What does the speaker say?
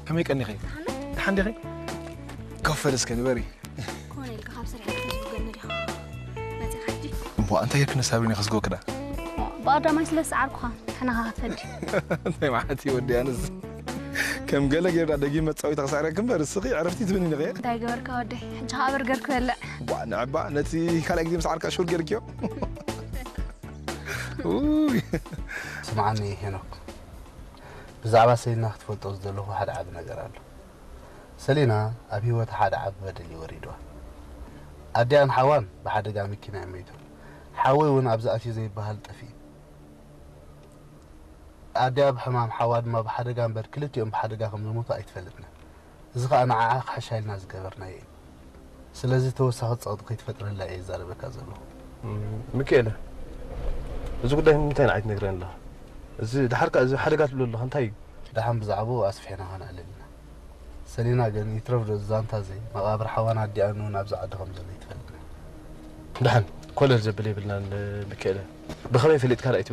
ከመይ ቀኒኺ? ደሓን ዲኺ? ኮፍ በል እስከ ንበሪ። ኮነ ኢልካ ካብ ስራሕ ክትዝውገኒ ዲኻ መፂኻ ሕጂ? እሞ እንታይ ጌርክኒ ሳብሪን ከስጎክዳ? ብቐዳማይ ስለ ዝሰዓርኩኻ ንሕና ኸ ክትፈዲ? እንታይ ማለት እዩ ወዲ ኣነስ? ከም ገለ ጌርዳ ደጊም መጻወቲ ተኽሳዕረክ እምበር እስኺ ዕረፍቲ ትብኒ ዲኺ? እንታይ ገበርካ ወደይ? ሕጂ ኸኣ በርገር ክበልዕ። ቧ ንዕባ ነቲ ካልኣይ ግዜ ምስ ዓርካ ሹር ጌርክዮ? ኡይ። ስምዓኒ ሄኖክ፣ ብዛዕባ ሰሊና ክትፈልጦ ዝደለኹ ሓደ ዓቢ ነገር ኣሎ። ሰሊና ኣብ ህይወታ ሓደ ዓቢ በደል እዩ ወሪድዋ። ኣዲኣን ሓዋን ብሓደጋ መኪና እዮም መይቶም። ሓወይ እውን ኣብዚ ኣትዩ ዘይበሃል ጠፊኡ። ኣዲኣ ብሕማም ሓዋ ድማ ብሓደጋ እምበር ክልቲኦም ብሓደጋ ከም ዝሞቱ ኣይትፈልጥን። እዚ ኸኣ ንዓኣ ክሕሻ ኢልና ዝገበርናዮ እዩ። ስለዚ ተወሳኺ ጸቕጢ ከይትፈጥረላ እየ ዝዛረበካ ዘለኹ። እም፣ ሚካኤለ፣ እዚ ጉዳይ ንምንታይ ንዓይ ትነግረኒ ኣለኻ? እዚ ደሓር ከኣ እዚ ሓደጋ ትብሎ ኣለኻ እንታይ እዩ? ደሓን ብዛዕባኡ ኣስፊሕና ኸነዕልል ኢና። ሰሊና ግን ይትረፍ ዶ ዛንታ እዚ መቓብር ሓዋን ኣዲኣን እውን ኣብዚ ዓዲ ከም ዘሎ ይትፈልጥ። ደሓን ኮለል ዘብል የብልናን ሚካኤለ። ብኸመይ ፈሊጥካ ደኣ